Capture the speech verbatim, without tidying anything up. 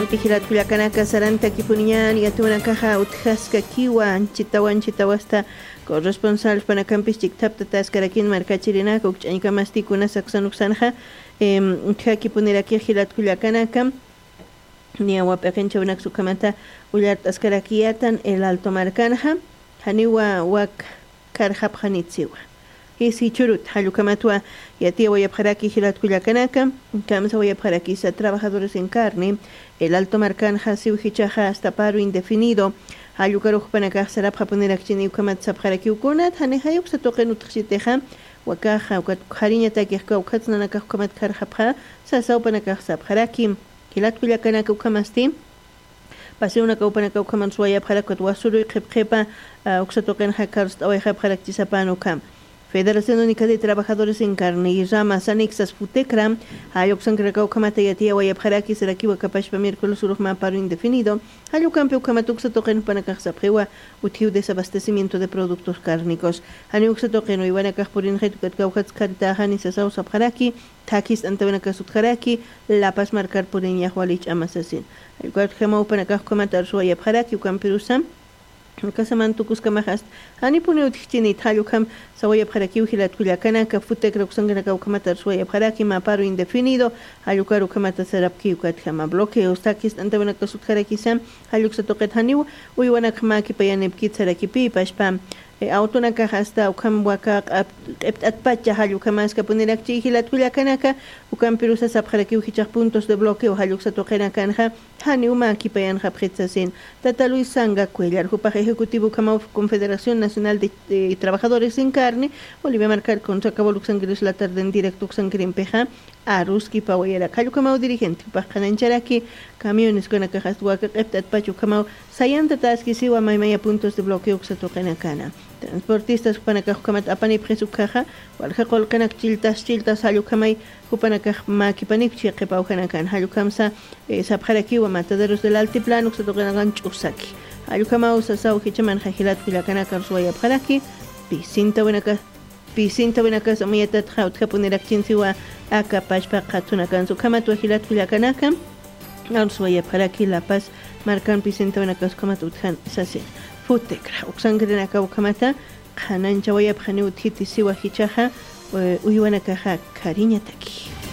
Jilat kullakanaka, sarantakipuniñan yatiwanakaxa utjaskakiwa, anchitawa anchitawasta corresponsal panakampis chikthaptataskarakin markachirinaka ukch'añkamasti kuna saksanuksanxa. Utjakipuniraki jilat kullakanaka, niyawa p'iqinchawinaksa ukhamata ullart'askarakiyatan el alto markanxa. Janiwa wak karxapxanitsiwa. Jis jichhurut jallukhamatwa yatiyawayapxaraki jilat kullakanaka. Kamsawayapxarakisa trabajadores en carne el alto markanxa siw jichhaxa hasta paro indefinido. Jallukarux jupanakax sarapxapunirakchini ukhamat sapxarakiw kunat jani jayuksa tuqin utjxitixa. Wakaxa ukat khariñatakix kawkhatsnanakax ukhamat kharxapxa sasaw panakax sapxaraki. Jilat kullakanaka ukhamasti paseonaka upanaka ukhaman suwayapxarak ukat wasuruy qhipqhipa uksa tuqinxa karst'awayxapxarakchisapan ukham. Federación Única de Trabajadores en Carne y Rama Sanixas Futecra jalluksankaraka ukhamata yatiyawayapxaraki sarakiwa kapashpa miércoles urux mä paro indefinido. Jallukampi ukhamat uksa tuqin jupanakax sapxiwa utjiw desabastecimiento de productos cárnicos. Jani uksa tuqin uywanakax purinxit ukat kawkhatskharitaxa nisasaw sapxaraki. Thakis t'antawinakas utjaraki, lapas markar puriñax wali ch'ama sasin. Jallukar ukhamaw panakax ukhamat arsuwayapxaraki ukampirusa. Kasaman tukuskamaxast janipuni utjichinit jallukham sawayapxarakiw jilat kullakanaka futekra uksankanaka ukhamat arsuwayapxaraki maparo indefinido. Jallukar ukhamata sarapki ukatjama bloqueos thakis t'antawinakas utjarakisa. Jalluksa tuqit janiw uywanakxma kipayanipkit sarakipi pashpa. Awtunakax asta ukham waka q'ipt'atpacha jallukamaskapunirakchi jilat kullakanaka. Ukampirusa sapxarakiw jichhax puntos de bloqueo jalluksa tuqinakanxa janiw mä kipayanxapxit sasin. Tata Luis Sanga Cuellar jupax ejecutivo ukhamaw Confederación Nacional de Trabajadores en Carne Bolivia markar contra cabol uksankiris la tarde en directo uksankirimpixa. Aruskipawayarak jallukhamaw dirigente jupax qhanancharaki camiones ukanakaxast waka q'ipt'atpach ukhamaw sayantataskisiwa maymaya puntos de bloqueo uksa tuqinakana. Transportistas jupanakax ukhamat apanipxis ukhaxa walja qullqinak chilltas chilltas jallukhamay jupanakax mäkipanipchi qhipawjanakan jallukhamsa sapxarakiwa mataderos del altiplano uksa tuqinakan ch'usaki. Jallukhamawsa saw jichamanxa jilat kullakanaka arsuwayapxaraki. Pisintawinaka pisintawinakas umayatatxa utjapunirakchinsiwa aka pachpa qhathunakansa ukhamatwa jilat kullakanaka. Arsuwayapxaraki lapas markan pisintawinakas ukhamat utjan sasin. Futekra uksankirinaka ukhamata qhananchawayapxani utjiti siwa jichaxa uywanakaxa khariñataki.